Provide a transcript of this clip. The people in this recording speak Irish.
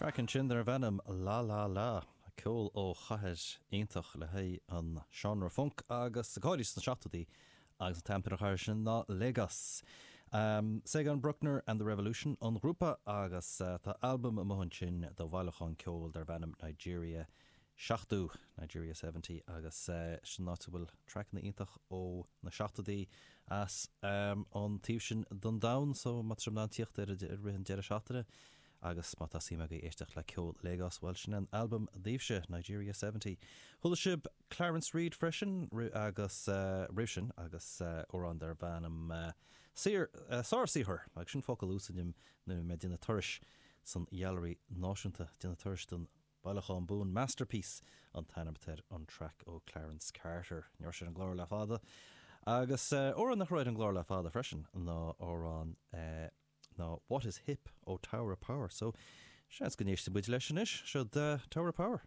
Traic ansin darbh ainm La La La, ceol ó chathair iontach le haghaidh an seánra func agus go háirithe sna seachtóidí agus an t-ainm ar an chathair sin ná Lagos. Sagon Bruckner and the Revolution an grúpa agus tá albam amuigh ansin de bhailiúchán ceoil darbh ainm Nigeria 70, Nigeria 70, agus sin an áit a bhfuil traiceanna iontach ó na seachtóidí as an taobh sin den domhan so má tá sibh in ann tíocht air i rith an deireadh seachtaine agus má tá suim agaibh éisteacht le ceol Lagos, bhuel sin an albam daoibhse, Nigeria 70. Chuala sibh Clarence Reid freisin agus roimh sin agus amhrán darb ainm Saor, Sársaothar agus sin focal a úsáidim nuair a bhí mé ag déanamh turais san Ghailearaí Náisiúnta, déanamh turais don Bailiúchán Buan Masterpiece an t-ainm atá ar an traic ó Clarence Carter. Ní raibh sé ar an gclár le fada. Agus amhrán nach raibh ar an gclár le fada freisin ná amhrán ná What is Hip ó Tower of Power. So, seans go n-éistfidh muid leis anois. Seo Tower of Power.